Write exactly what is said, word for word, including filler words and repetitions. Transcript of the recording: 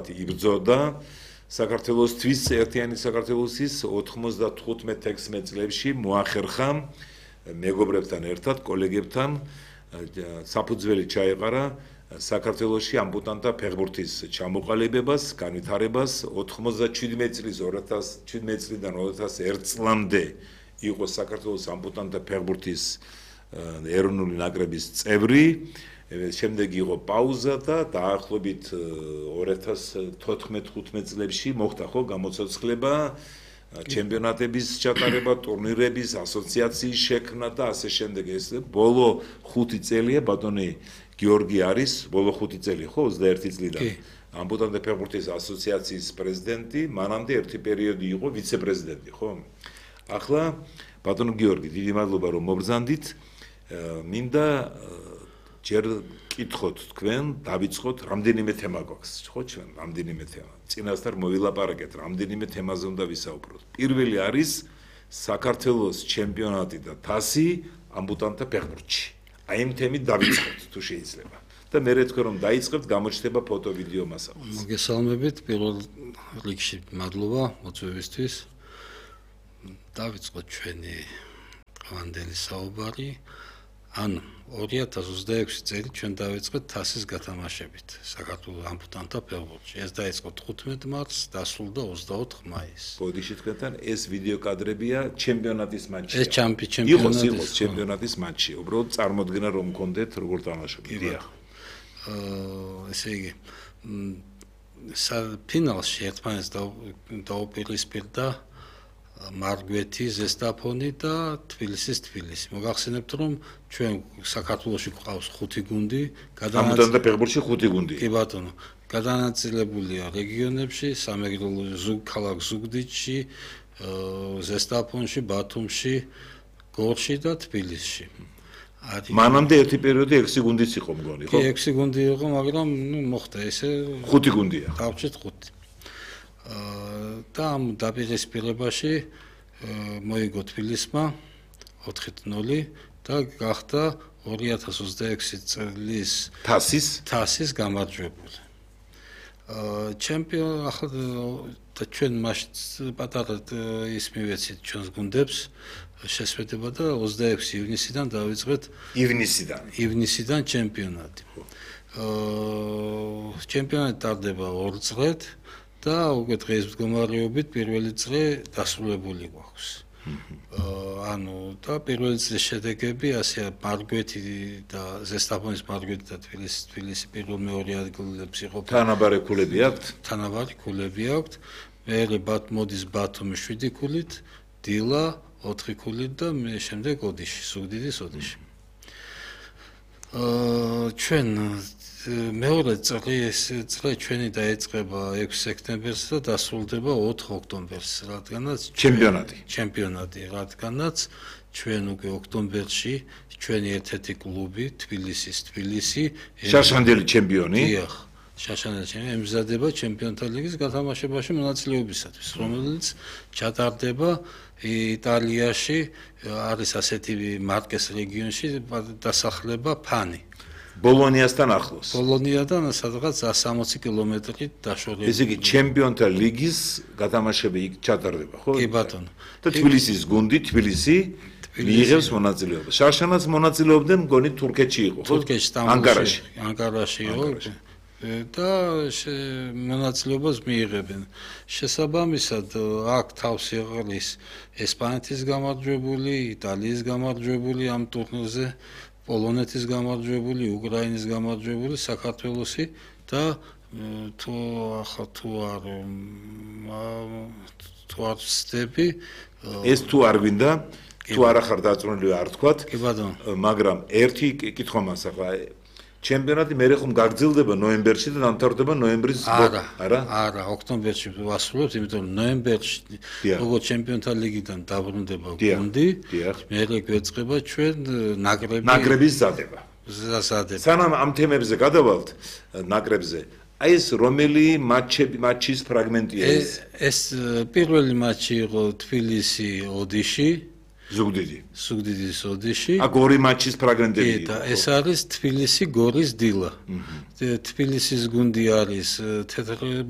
იბრძოდა საქართველოს თვის ერთიანი საქართველოსის ოთხმოცდათხუთმეტ ათექვსმეტ წლებში მოახერხა მეგობრებთან ერთად, კოლეგებთან საფუძველი ჩაეყარა საქართველოში ამპუტანტთა ფეხბურთის ჩამოყალიბებას, განვითარებას ოთხმოცდაჩვიდმეტ წლის ოცდაათი წლიდან ოცდაათი წლამდე იყო საქართველოს ამპუტანტთა ფეხბურთის ეროვნული ნაკრების წევრი. შემდეგ იყო პაუზა და დაახლოებით ორი ათას თოთხმეტ ხუთმეტ წლებში მოხდა ხო გამოცოცხლება, ჩემპიონატების ჩატარება, ტურნირების, ასოციაციის შექმნა და ასე შემდეგ. ეს ბოლო ხუთი წელია ბატონი გიორგი არის, ბოლო ხუთი წელი ხო ოცდაერთი წლიდან ამპუტანტთა ფეხბურთის ასოციაციის პრეზიდენტი, მანამდე ერთი პერიოდი იყო ვიცე-პრეზიდენტი, ხო? ახლა ბატონო გიორგი, დიდი მადლობა რომ მობრძანდით. მინდა ჯერ კითხოთ თქვენ, დავიწყოთ, რამდენიმე თემა გვაქვს, ხო ჩვენ, რამდენიმე თემა. წინასწარ მოვილაპარაკეთ, რამდენიმე თემაზე უნდა ვისაუბროთ. პირველი არის საქართველოს ჩემპიონატი და თასი ამპუტანტთა ფეხბურთში. აი ამ თემით დავიწყოთ, თუ შეიძლება. და მე თქვენ რომ დაიწყებთ, გამოჩნდება ფოტო, ვიდეო მასალაც. მოგესალმებით, პირველ რიგში მადლობა მოწვევისთვის. დავიწყოთ ჩვენი დღევანდელი საუბარი. ან ორი ათას ოცდაექვსი წელი ჩვენ დავიწყეთ თასის გათამაშებით საქართველოს ამპუტანტთა ფეხბურთში. ეს დაიწყო თხუთმეტ მარტს, დასრულდა ოცდაოთხ მაისს. ბოდიში თქვენთან ეს ვიდეო კადრებია ჩემპიონატის მატჩი. ეს ჩემპიონატის იყოს იყოს ჩემპიონატის მატჩი. უბრალოდ წარმოდგენა რომ გქონდეთ როგორ თამაშობთ. დიახ. აა ესე იგი ფინალში ერთმანეთს დაუპირისპირდა მარგვეთი, ზესტაფონი და თბილისის თბილისი. მოგახსენებთ რომ ჩვენ საქართველოში გვყავს ხუთი გუნდი, ამპუტანტთა ფეხბურთში ხუთი გუნდი. კი ბატონო, გადანაწილებულია რეგიონებში, სამეგრელო ზუგ ქალაქ ზუგდიდში, ზესტაფონში, ბათუმში, გორში და თბილისში. მანამდე ერთი პერიოდი ექვსი გუნდიც იყო მგონი, ხო? კი, ექვსი გუნდი იყო, მაგრამ ნუ მოხდა ესე ხუთი გუნდია. დავჭერთ ხუთი. და ამ დაპირისპირებაში მოიგო თბილისმა ოთხი ნული და გახდა ორი ათას ოცდაექვსი წლის თასის თასის გამარჯვებული. ჩემპიონ ახლა და ჩვენ მაშინ პატარა ის მივეცით ჩვენს გუნდებს შესვედება და ოცდაექვსი ივნისიდან დავიწყეთ ივნისიდან ივნისიდან ჩემპიონატი. ჩემპიონატი ტარდება ორ წლად და უკვე დღეს მდგომარეობით პირველი წრე დასრულებული გვაქვს. ანუ და პირველი წრის შედეგები ასეა მარგვეთი და ზესტაფონის მარგვეთი და თბილისის თბილისი პირველ მეორე ადგილებს იყოფა. თანაბარი ქულები აქვთ? თანაბარი ქულები აქვთ. მერე ბათ მოდის ბათუმი შვიდი ქულით, დილა ოთხი ქულით და მე შემდეგ ოდიში, ზუგდიდის ოდიში. აა ჩვენ მეორე წლის წლე ჩვენი დაიწყება ექვსი სექტემბერს და დასრულდება ოთხ ოქტომბერს, რადგანაც ჩემპიონატი. ჩემპიონატი, რადგანაც ჩვენ უკვე ოქტომბერში ჩვენი ერთ-ერთი კლუბი თბილისის თბილისი შაშანდელი ჩემპიონი. დიახ, შაშანდელი ჩემპიონი ემზადება ჩემპიონთა ლიგის გათამაშებაში მონაწილეობისათვის, რომელიც ჩატარდება იტალიაში, არის ასეთი მარკეს რეგიონში დასახლება ფანი. ბოლონიასთან ახლოს. ბოლონიადან სადღაც სამოცი კილომეტრი დაშორებით. ესე იგი ჩემპიონთა ლიგის გათამაშები იქ ჩატარდება, ხო? კი ბატონო. და თბილისის გუნდი თბილისი მიიღებს მონაწილეობას. შარშანაც მონაწილეობდნენ, მგონი თურქეთში იყო, ხო? თურქეთში, ანგარაში. ანგარაში იყო და მონაწილეობას მიიღებენ. შესაბამისად აქ თავს იყრის ესპანეთის გამარჯვებული, იტალიის გამარჯვებული ამ ტურნირზე. პოლონეთის გამარჯვებული, უკრაინის გამარჯვებული, საქართველოსი და თუ ახლა თუ არ თუ არ ვცდები ეს თუ არ გვინდა, თუ არ ახარ დაწუნებული არ თქვათ, კი ბატონო, მაგრამ ერთი კითხვა მას ახლა ჩემპიონატი მე ხომ გაგრძელდება ნოემბერში და დამთავრდება ნოემბრის არა არა არა ოქტომბერში ვასრულებთ, იმიტომ რომ ნოემბერში როგორც ჩემპიონთა ლიგიდან დაბრუნდება გუნდი, მერე გვეწყება ჩვენ ნაკრები ნაკრების ზადება. ზადება. სანამ ამ თემებზე გადავალთ ნაკრებზე, აი ეს რომელი მატჩები მატჩის ფრაგმენტია ეს? ეს პირველი მატჩი იყო თბილისი ოდიში. ზუგდიდი. ზუგდიდის ოდიში. აქ ორი მატჩის ფრაგმენტები. და ეს არის თბილისი გორის დილა. თბილისის გუნდი არის თეთრი